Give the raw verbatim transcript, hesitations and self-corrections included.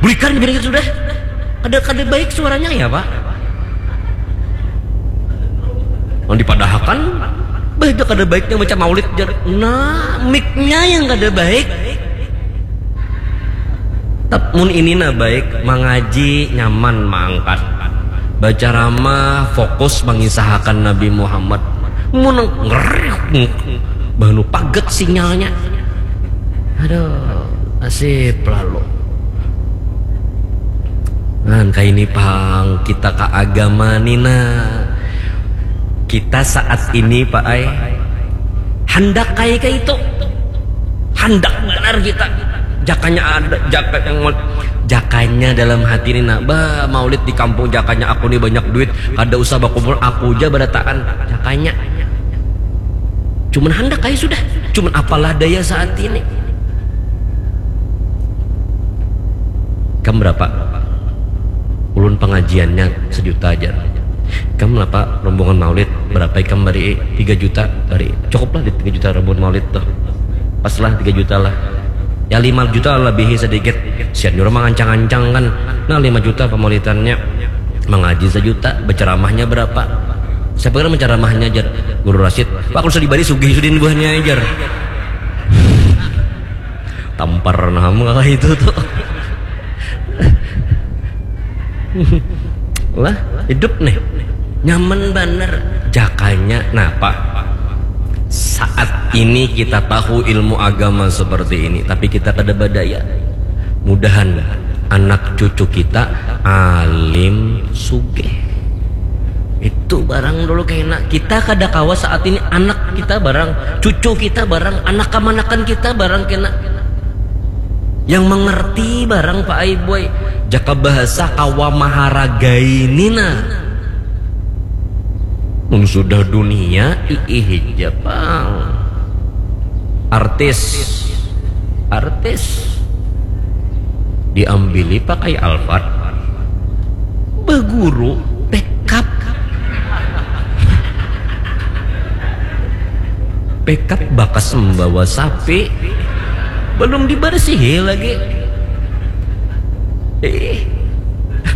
Bulikan gini sudah. Kada, kada baik suaranya ya, Pak. Yang dipadahakan, bah, itu kada baiknya baca maulid, jar. Nah, miknya yang kada baik. Tapi mun ini nah baik, mangaji nyaman maangkat. Baca ramah fokus mangisahakan Nabi Muhammad. Mun ngerih, bahnu paget sinyalnya. Aduh, nasib lalu. Nah, kaini pang kita ka agama ni nah. Kita saat ini, Pak ai, handak kai kaitu. Handak banar kita. Jakanya ada, jaka yang mau, jakanya dalam hati ni nah, bah, maulid di kampung jakanya aku ni banyak duit, kada usah bakumpul, aku ja barataan. Jakanya. Cuman handak kai sudah. Cuman apalah daya saat ini. Ikam berapa? Ulun pengajiannya sejuta aja. Ikam apa rombongan maulid, berapa ikam bari? Tiga juta bari. Cukuplah di tiga juta rombongan maulid tuh. Paslah tiga juta lah. Ya lima juta lebihi sedikit. Sian jua mangancang-ancang kan. Nah, lima juta pemaulidannya. Mengaji sejuta, berceramahnya berapa? Siapa kira menceramahnya, jar? Guru Rasid. Wah, kalau sudah dibari sugih sudin buahnya, jar. Tampar nah, muka itu tuh. Lah, hidup nih. Nyaman banar. Jakanya, napa? Saat ini kita tahu ilmu agama seperti ini, tapi kita kada badaya. Mudahan anak cucu kita alim sugih. Itu barang dulu kena. Kita kada kawa saat ini anak kita barang, cucu kita barang, anak kamanakan kita barang kena. Yang mengerti barang, Pak ai, boy. Jaka bahasa kawa maharagai ni nah. Mun sudah dunia, iih ja pang. Artis. Artis. Diambili pakai Alphard. Baguru, pick up. Pick up bakas membawa sapi. Belum dibersihi lagi. Ih,